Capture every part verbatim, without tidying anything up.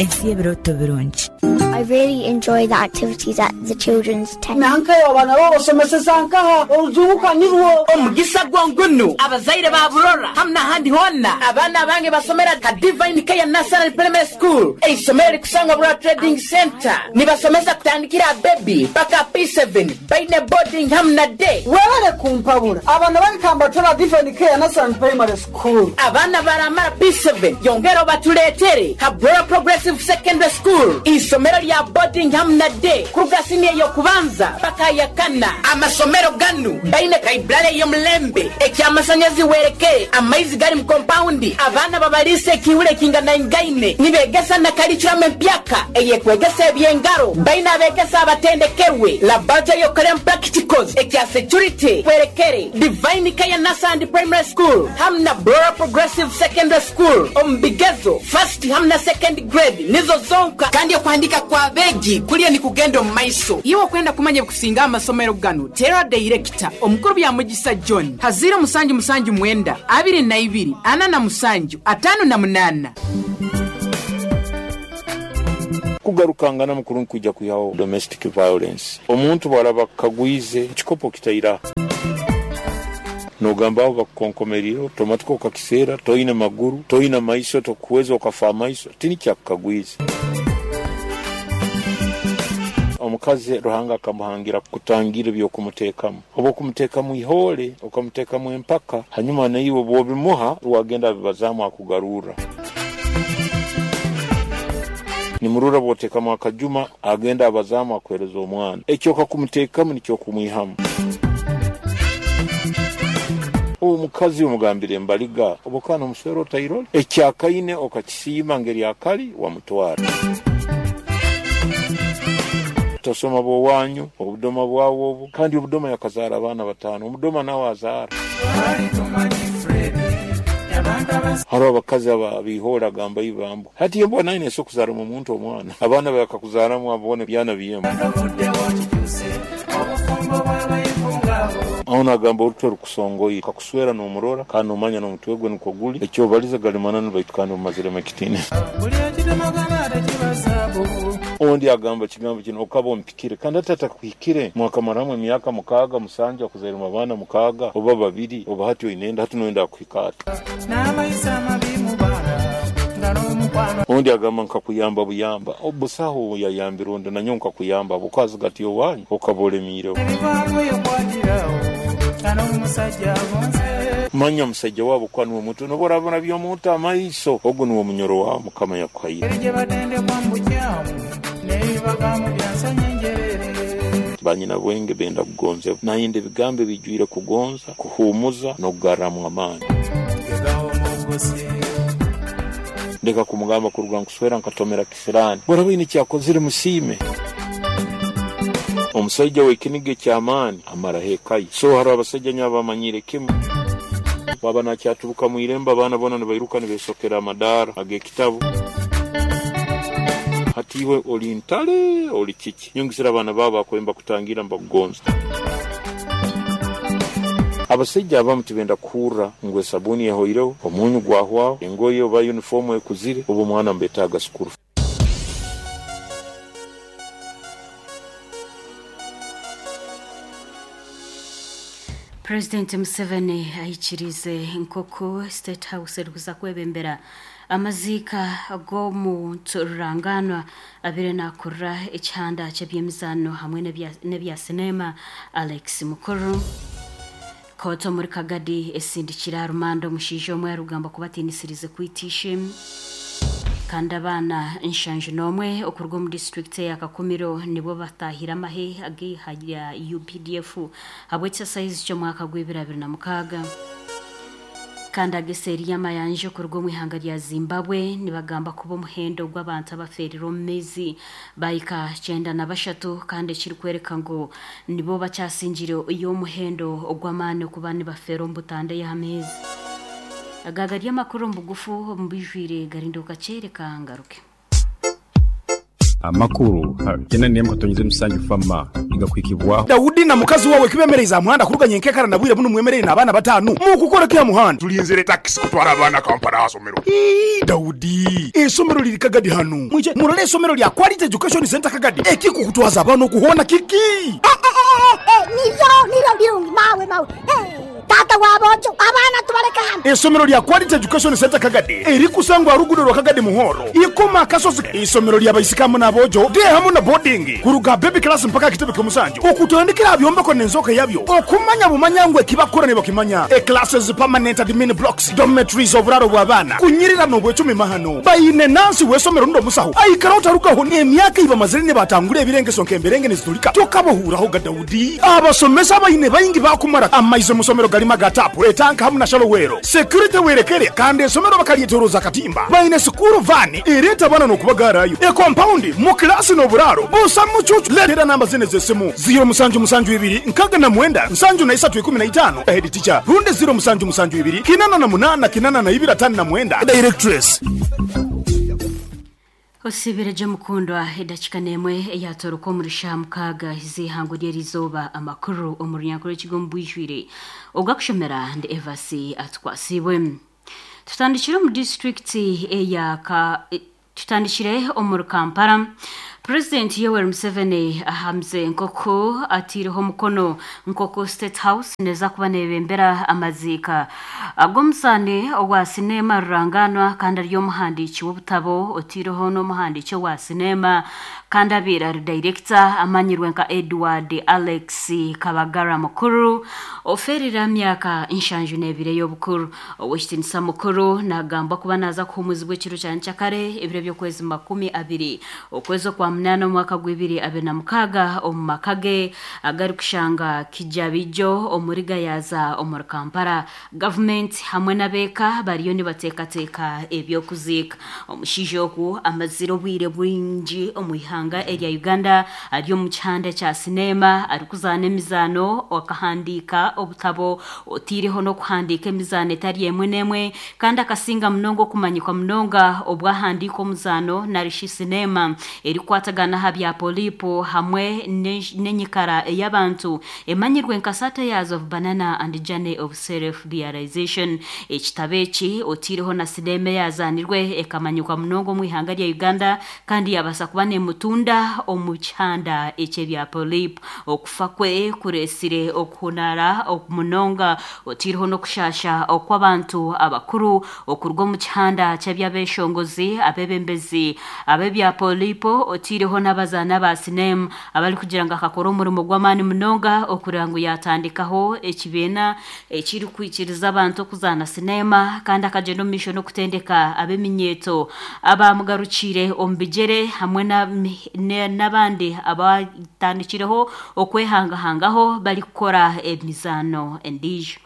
Ensi y'ebirooto birungi. I really enjoy the activities at the children's tent. Nankayo abana babasomeseza nkaha orujunguka nirwo. Omugisa gwongunu abazaire ba Burora hamwe n'ahandi hona, abaana bange basomera ka Divine Care Nursery Primary School, eisomero rikusangwa Burora Trading Center. Nibasomesa kutandikira baby paka P seven, baine boarding hamwe na day. Webale kumpabura, abana barikambatora Divine Care Nursery Primary School. Abaana baramara P seven, yongera batuletere ha Burora Progressive Secondary School, isomero lya boarding hamwe na day, kuruga senior yokubanza paka ya kana. Amasomero ganu baine library y'omulembe, ekyamasanyarazi werekere, amaizi gari mu compound, abaana babalise ekihure kinganaingaine, nibegesa na curriculum empyaka eyekwegesa ebyengaro, baine abegesa abatendekerwe, laboratory yokorem practicals, ekya security werekere. Divine Care Nursery Primary School hamwe na Burora Progressive Secondary School, omu bigezo first hamwe na second grade nizo zonka, kandi okuhandika kwa beegi kuliyo ni kugenda omu maiso. Iwe okwenda kumanya kusinga amasomero ganu, tera director omukuru bya Mugisa John haziro musanju musanju mwenda abiri na ibiri ana na musanju atano na munana. Kugarukangana mukuru nkwijja kwihaho domestic violence. Omuntu bw'araba kagwize ekikopo kitaira, nogamba aho bakukonkomerire otomatiko okakiseera, toine maguru, toine maiso, tokuweza okafa amaiso tini kyakukagwize. Omukazi Ruhanga akamuhangira kutangira ebyokumuteekamu, oba okumuteekamu ihole, okamuteekamu empaka, hanyuma naiwe bwobimuha wagenda abibazaamu akugarurra. Nimurura bwoteekamu akajuma, agenda abazaamu akuhereza omwana. Ekyo okakumuteekamu nikyo okumwihamu. Omukazi omugambire embaliga obokana omuswera otairole ekyakaine, okakisiima ngeri akali wamutwara. Tosoma bwowanyu obudoma bwawe obu, kandi obudoma yakazaara abaana bataano, omudoma nawe azaara. Hariho abakazi aba agamba ibambu hati embwa naine ese okuzaaramu omuntu omwana, abaana bakakuzaramu abone byana byemu. Aho nagamba orutwe rukusongoire kakuswera n'omurora kandi nomanya n'omutwe gwe nikwo guli, ekyobaliza gali mananu, baitu kandi omumaziremu ekitiinisa. Ondi agamba kigambo kino, okaba ompikire kandi ati atakuhikire, mwakamaramu emyaka mukaaga musanju, akuzairemu abaana mukaaga oba babiri, oba hati oinenda hati noyenda akuhika ati. Ondi agamba nkakuyamba buyamba, obusaho yayambira ondi, nanyo nkakuyamba bukazi gati owanyu okaba olemiireho. Manya omusajja waabo kuba niwe muntu noba orabona by'omuntu amaiso, ogwo niwe munyoro wawe Mukama yakuhaire. Banyina bwenge benda kugonzebwa, nayenda ebigambo ebijwire kugonza, kuhumuza n'okugarramu amaani. Ndeka kumugamba kuruga nkuswera nkatomera kisirani, bwaraba ine kyakozire musiime. Omusajja w'ekiniga eky'amaani amaraho ekaye. So hariho abasajja nyo abamanyire kimu, baba nakyaturuka mu irembo, abaana bona nibairuka nibesokera amadaara ag'ekitabu. Hati iwe oli ntale, oli kiki? Nyongesera abaana baabo bakwemba kutangira mbakugonza. Abasajja abamu tibenda kuhurra ngu esabuni ehoireho, omunyu gwahwaho, engoye oba uniform ekuzire, oba omwana mbetaaga school. President Museveni ahikirize nk'oku State House erikuza kwebembera amaziika g'omuntu ruranganwa abire nakurra ekihanda ky'ebyemizaano hamwe n'ebya sinema Alex Mukuru. Kooti omuri Kagadi esindikira rumanda omushaija omwe arikugamba kubatiinisirize kwitisha. Kandi abaana nshanju n'omwe okuruga omu disitulikiti ya Kakumiro nibo batahire amahe ag'iha rya U P D F habw'ekisasayizi ky'omwaka gw'ebiri abiri na mukaaga. Kandi ageseeri y'amayanja okuruga omu ihanga rya Zimbabwe nibagamba kuba omuhendo gw'abantu abaferire omu maizi bahika kyenda na bashatu, kandi ekirikwereka ngu nibo bakyasingire y'omuhendo ogw'amaani okuba nibafeera omu butanda y'amaizi. Aga gari amakuru omu bugufu, omu bijwire garinda okakyereka ngaruke. Amakuru kenda nemu katonyeze musanju fama igakwikibwaho. Daudi na mukazi wawe kibemereza muhanda kuruganya enkekara na bwire buno mwemereye n'abaana batanu mukukora kya muhanda tulinzire taxi kutwara abaana Kampala asomero. Ii, Daudi esomero liri Kagadi hanu mwije murole esomero lya Quality Education Center Kagadi ekikukutwaza abana okuhona kiki. Eh, eh, eh, eh, niyo niro birungi mawe mawe eh. Tata wabojo abana tubareka hano. Esomero lya Quality Education Center Kagadi erikusangwa rugudo rwa Kagadi Muhoro ikoma kasozi. Isomero lya baisikamu n'abojo de hamu na boarding kuruga baby class mpaka kitebe kyomusanju okutandikira byombeko n'enzoka yabyo okumanya bumanyangwe kibakora ne bakimanya e classes permanent admin blocks dormitories oburaro bw'abaana kunyirira n'obwecumi mahano bayine nansi wesomero ndo musaho aikara utarukaho emyaka iba mazire ne batangure ebirengeso nkemberenge nezitulika tokabohuraho ga Daudi abasomesa bayine bayingi bakumara amaize musomero galima gatapu etanka hamuna shalowero security werekere kandi esomero bakalietoroza katimba bayine sukuru vani ereta bana nokubagarayo e compound mu class no buraro busa mucucu letera namba zine zesimu zero musanju musanju ibiri nkaga na mwenda nsanju na isatu ikumi na itano head teacher runde zero musanju musanju ibiri kinana na munana kinana na ibira tano na mwenda directress. Osibireje mukundwa edakika nemwe eyatoroka omurisha mukaga zihango lyerizoba amakuru omurunyakuru ekigombwijwire ogakushomera ndi Evasi atwasibwe. Tutandikire mu district eya ka tutandikire omuri Kampala. President Yoweri Museveni ahamze nkoko atiriho mukono nkoko State House neza kuba nebembera amazika agomusane owa sinema ruranganwa kandi ari omuhandiiki w'obutabo otiriho n'omuhandiiki wa sinema kandi abeera ari director amanyirwe nka Edward Alex Kabagara mukuru oferera myaka inshanju n'ebire y'obukuru. Owekitinisa mukuru nagamba kuba naza kuhumuzibwa ekiro kya nkyakare ebiro by'okwezi makumi abiri okwezi kwa munana omwaka gw'ibiri abiri na mukaga omu maka ge agari kushanga Kijabijo omuri Gayaza omuri Kampala. Gavumenti hamwe n'abeeka bariyo nibateekateeka ebyokuziika. Omushaija ogu amazire obwire bwingi omu ihanga erya Uganda ari omu kihanda kya sinema arikuzaana emizaano akahandiika obutabo otiireho n'okuhandiika emizaano etari emwe n'emwe kandi akasinga munonga okumanyikwa munonga obwahandiika omuzaano narishi sinema erikwatagana aha bya polipo hamwe n'enyikara ey'abantu emanyirwe nka Satires of Banana and Journey of Self-Realization. Ekitabo eki otiireho na sinema eyazanirwe ekamanyikwa munonga omu ihanga rya Uganda kandi yabasa kuba nemutunda omu kihanda eky'ebya polipo. Okufa kwe kuresire okuhunara munonga otiireho n'okushasha okw'abantu abakuru okuruga omu kihanda ky'ebyabeshongozi abebembezi ab'ebya polipo otiireho n'abazaana ba sinema abari kugira ngu akakora omurimo gw'amaani munonga okureba ngu yatandikaho ekibiina ekirikwikiriza abantu okuzaana sinema kandi akagyenda omu maisho n'okutendeka ab'eminyeeto abamugarukire omu bigyere hamwe n'abandi abatandikireho okwehangahangaho barikukora emizaano endiijo.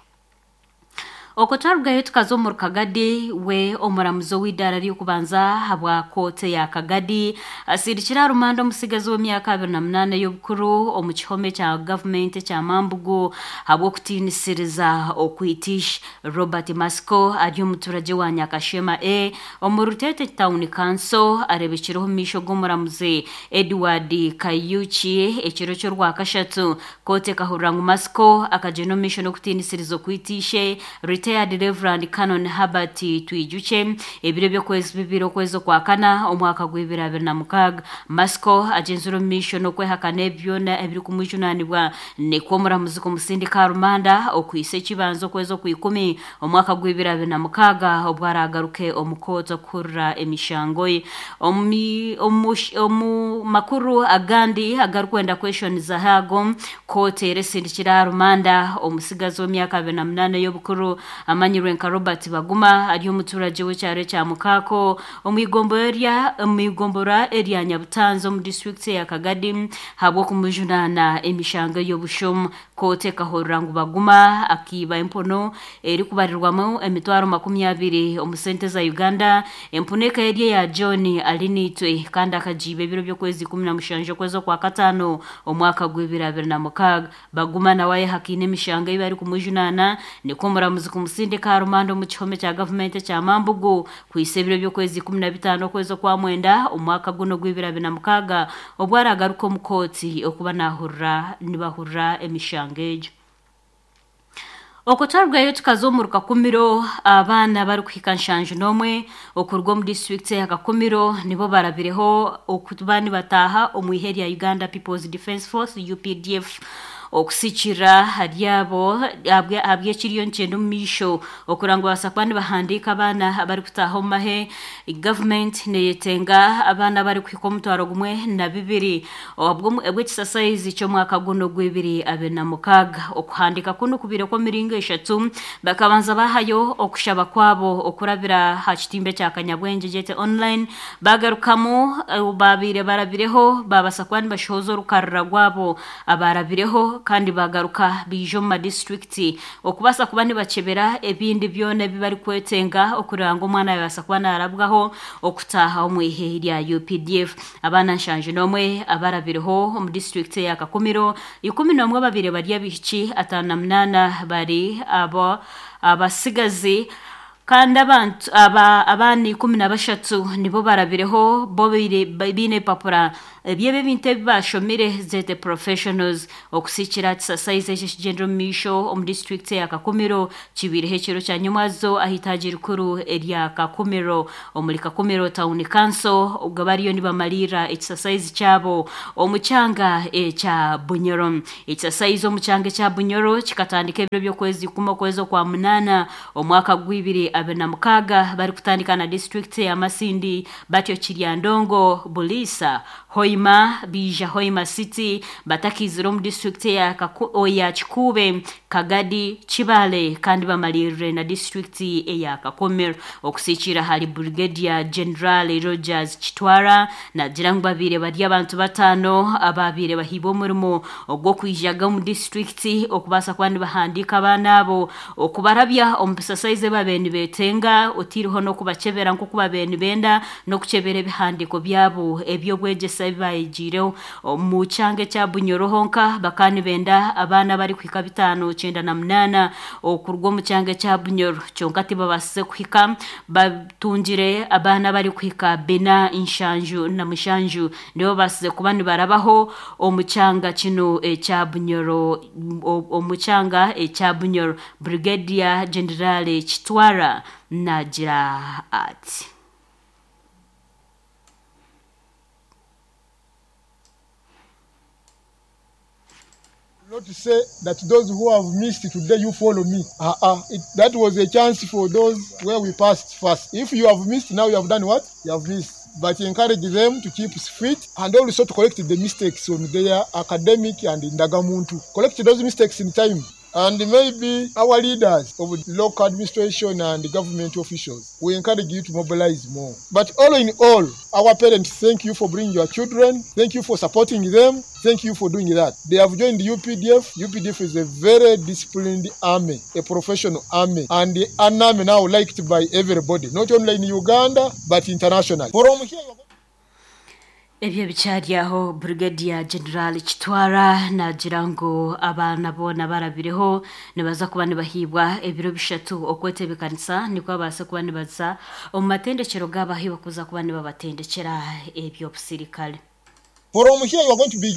Oko twarugayo tukaza omuri Kagadi we omuramuzi w'eidaara ry'okubanza habwa kooti ya Kagadi asindikire arumanda omusigazi w'emyaka abiri na munaana y'obukuru omu kihome kya gavumenti ekya Mambugu habw'okutiinisiriza okwitisha. Robert Masiko ari omuturage wa Nyakashema E omu Rutete Town Council arebekireho omu maisho g'omuramuzi Edward Kayuki ekiro ky'orwakashatu. Kooti ekahurira ngu Masiko akagyenda omu maisho n'okutiinisiriza okwitishe retired Reverend Canon Herbert Twijuche ebiro by'okwezi bibiri okwezi okwakana omwaka gw'ibiri abiri na mukaga. Masiko agenzire omu maisho n'okwehakana ebyona ebirikumwijunanibwa nikwo omuramuzi kumusindika rumanda okwisa ekibanza okwezi okwikumi omwaka gw'ibiri abiri na mukaga obwo aragaruke omu kooti okuhurira emishango ye. Omu makuru agandi agarikwenda kweshoniza hago kooti eresindikira rumanda omusigazi w'emyaka abiri na munaana y'obukuru amanyirwe nka Robert Baguma ari omuturage w'ekyaro kya Mukako omu igombora erya Nyabutanzo omu district ya Kagadi habw'okumujunana emishango y'obushomu. Kooti ekahurira ngu Baguma akiiba empono erikubarirwamu emitwaro makumi abiri omu sente za Uganda empunu eka eri eya John Alinitwe kandi akagiiba ebiro by'okwezi ikumi na mushanju okwezi okwa kataano omwaka gw'ibiri abiri na mukaaga. Baguma nawe ayehakaine emishango ei barikumujunana nikwo omuramuzi okumusindika aha rumanda omu kihome kya gavumenti ekya Mambugu kwisa ebiro by'okwezi ikumi na bitaano okwezi okwa mwenda omwaka guno gw'ibiri abiri na mukaaga obwo aragaruka omu kooti okuba nahurira nibahurira emishango egyo. Okutwarwayo tukaza omu Rukakumiro, abaana barikuhika nshanju n'omwe okuruga omu disitulikiti ya Kakumiro nibo barabireho okuba nibataaha omu ihe rya Uganda People's Defence Force U P D F. Okusikira hari abo ahabw'ekiriyo nikyenda omu maisho okuranga babaasa kuba nibahandiika abaana abarikutaaha omu mahe, gavumenti neyetenga abaana abarikuhika omutwaro gumwe na bibiri obw'ekisasayizi ky'omwaka guno gw'ibiri abiri na mukaaga. Okuhandiika kunu kubiire kw'emiringo eshatu. Bakabanza bahayo okushaba kwabo okurabira aha kitimba ekya Kanyabwengye gyete online, bagarukamu babiire barabireho babaasa kuba nibashohoza orukarara rwabo abarabireho, kandi bagaruka biija omu madisiturikiti okubaasa kuba nibakebera ebindi byona ebi barikwetenga okureba ngu omwana yabaasa kuba naarabwaho okutaaha omu ihe rya U P D F. Abaana nshanju n'omwe abarabireho omu disitulikiti ya Kakumiro, ikumi n'omwe babiri bari abaishiki, ataano na munaana bari abo abasigazi, kandi abantu aba abaana ikumi na bashatu nibo barabireho bo biine ebipapura ebyebo ebintu ebi bashomire zete professionals. Okusikira kisasayizi ekyo ekigyendera omu maisho omu disitulikiti ya Kakumiro kibiireho ekiro kya nyomwazo aha itaagi rikuru erya Kakumiro omuri Kakumiro Town Council, obwo bariyo nibamariira ekisasayizi kyabo omu kyanga ekya Bunyoro. Ekisasayizi omu kyanga ekya Bunyoro kikatandika ebiro by'okwezi ikumi okwezi okwa munaana omwaka gw'ibiri abiri na mukaaga, barikutandika na disitulikiti ya Masindi, batyo Kiryandongo, Buliisa, Hoima, bija Hoima City, batakizire omu disitulikiti ya, ya Kikuube, Kagadi, Kibale, kandi bamalirire na disitulikiti eya Kakumiro. Okusikira hari Brigadier General Rogers Kitwara nagira ngu babiire bari abantu bataano ababiire bahiibwa omurimo ogw'okwijaga omu disitulikiti okubaasa kuba nibahandiika abaana abo okubarabya omu bisasayizi ebi babaire nibeetenga, otiireho n'okubakebera nk'oku babaire nibenda n'okukyebera ebihandiiko byabo eby'obwegyese ebi bayegiireho. Omu kyanga ekya Bunyoro honka bakaba nibenda abaana abarikuhika bitaano kyenda na munaana okuruga omu kyanga ekya Bunyoro, kyonka tibabaasize kuhika, batungire abaana abarikuhika bina nshanju na mushanju nibo babaasize kuba nibarabaho omu kyanga kino ekya Bunyoro. Omu kyanga ekya Bunyoro, Brigadier General Kitwara nagira ati: Not to say that those who have missed today, you follow me. Uh-uh. It, that was a chance for those where we passed first. If you have missed, now you have done what? You have missed. But encourage them to keep fit and also to correct the mistakes on their academic and indagamuntu. Correct those mistakes in time. And maybe our leaders of local administration and government officials, we encourage you to mobilize more. But all in all, our parents, thank you for bringing your children. Thank you for supporting them. Thank you for doing that. They have joined the U P D F. U P D F is a very disciplined army, a professional army, and an army now liked by everybody, not only in Uganda, but internationally. From here, Ebyo bikyari aho, Brigadier General Kitwara nagira ngu abaana boona barabireho nibaza kuba nibahibwa ebiro bishatu okwetebekanisa nikwo babaase kuba nibaza omu matendekero gaabo ahu bakuza kuba nibabatendekera eby'obusirikare. From here, you are going to be